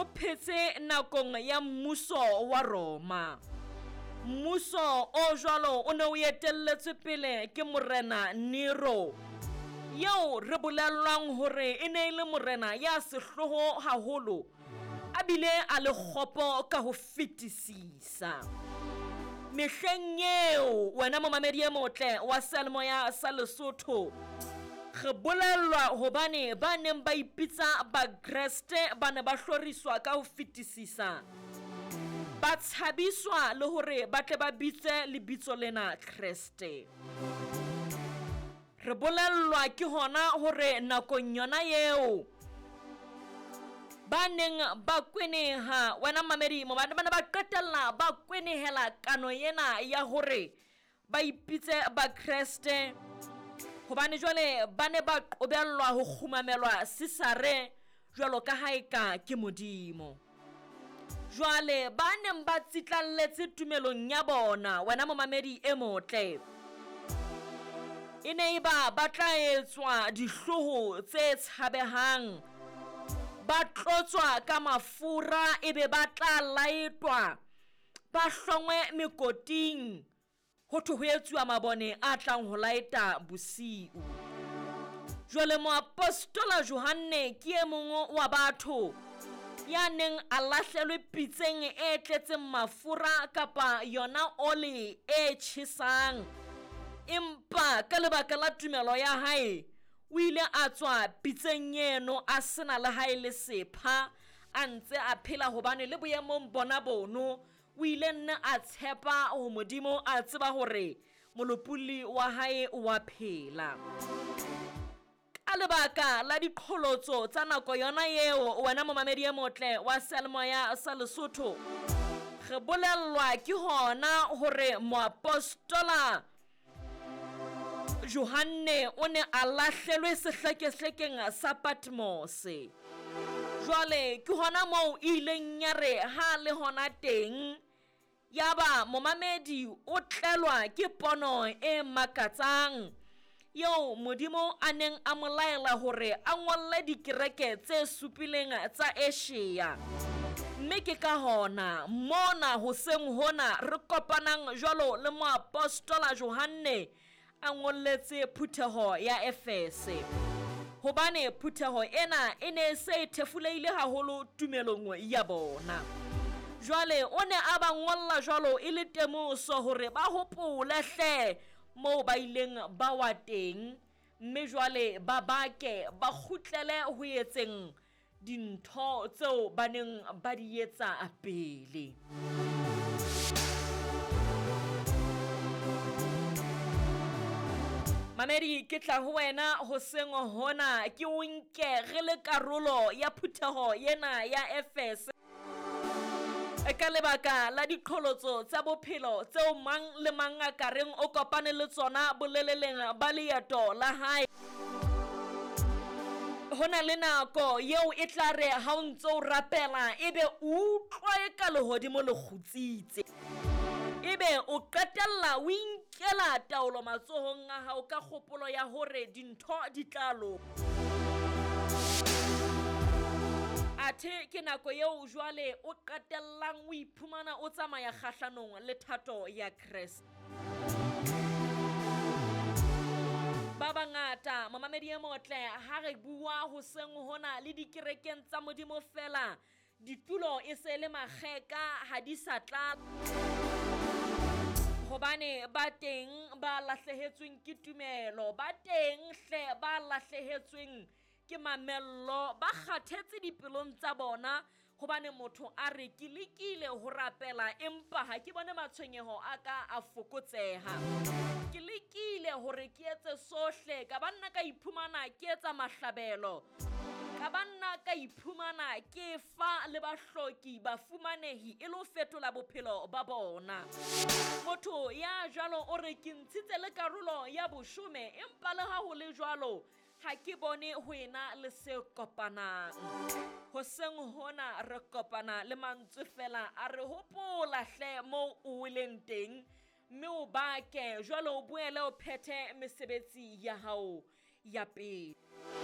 o phetse nakong ya mmuso wa Roma. Mmuso o jwalo o ne o etelletswe pele ke Morena Nero, eo re bolellwang hore e ne e le morena ya sehloho haholo a bile a le kgopo ka ho fetisisa. Mehleng eo, wena momamedi e motle wa seyalemoya sa Lesotho, re bolellwa hobane ba neng ba ipitsa Bakreste ba ne ba hloriswa ka ho fetisisa, ba tshabiswa le hore ba tle ba bitse lebitso lena Kreste. Re bolellwa ke hona hore nakong yona eo ba neng ba kweneha, wena mmamedi, ba ne ba qetella ba kwenehela kano ena ya hore ba ipitse Bakreste, hobane jwale ba ne ba qobellwa ho kgumamelwa Sisare jwalo ka ha eka ke Modimo. Jwale ba neng ba tsitlalletse tumelong ya bona, wena momamedi e motle, e ne e ba ba tla etswa dihlooho tse tshabehang, ba tlotswa ka mafura, ebe ba tla laetwa, ba hlongwe mekoting, ho thwe ho etsuwa mabone a tlang ho laeta bosiu. Jwale moapostola Johanne ke e mong wa batho ya neng a lahlelwe pitseng e tletseng mafura kapa yona oli e tjhesang, empa ka lebaka la tumelo ya hae o ile a tswa pitseng eno a sena le hae le sepha, a ntse a phela, hobane le boemong bona bono o ile nna a tshepa ho Modimo, a tseba hore molopolli wa hae wa phela. Ka lebaka la diqholotso tsa nako yona eo, wena momamedi e motle wa seyalemoya sa Lesotho, re bolellwa ke hona hore moapostola Johanne o ne a lahlelwe sehlekehlekeng sa Patmose. Jwale ke hona moo e ileng ya re ha le hona teng, yaba momamedi o tlelwa ke pono e makatsang eo Modimo a neng a mo laela hore a ngolle dikereke tse supileng tsa Asia. Mme ke ka hona mona hoseng hona re kopanang jwalo le moapostola Johanne a ngolletse phutheho ya Efese, hobane phutheho ena e ne e se e thefulehile haholo tumelong ya bona. Jwale o ne a ba ngolla jwalo e le temoso hore ba hopole hle moo ba ileng ba wa teng, mme jwale ba bake, ba kgutlele ho etseng dintho tseo ba neng ba di etsa pele. Mamedi, ke tla ho wena hoseng hona, ke o nke re le karolo ya phutheho ena ya Efese ka lebaka la diqholotso tsa bophelo tseo mang le mang a ka reng o kopane le tsona boleleleng ba leeto la hae. Ho na le nako eo e tla re ha o ntse o rapela ebe o utlwa e ka lehodimo le kgutsitse, ebe o qetella o inkela taolo matsohong a hao ka kgopolo ya hore dintho di tla loka. Athe ke nako eo jwale o qetellang o iphumana o tsamaya kgahlanong le thato ya Kreste. Ba bangata, momamedi e motle, ha re bua hoseng hona le dikerekeng tsa Modimo fela, ditulo e se le makgeka, ha di sa tlala, hobane ba teng ba lahlehetsweng ke tumelo, ba teng hle ba lahlehetsweng ke mamello, ba kgathetse dipelong tsa bona, hobane motho a re ke lekile ho rapela empa ha ke bone matshwenyeho a ka a fokotseha. Ke lekile hore ke etse sohle, ka ba nna ka iphumana ke etsa mahlabelo, ka ba nna ka iphumana ke fa le bahloki bafumanehi e le ho fetola bophelo ba bona. Motho ya jwalo o re ke ntshitse le karolo ya boshome, empa le ha ho le jwalo ha ke bone ho ena le se kopanang. Hoseng hona re kopana le mantswe fela a re hopola hle moo o weleng teng, mme o bake jwale o boele o phethe mesebetsi ya hao ya pele.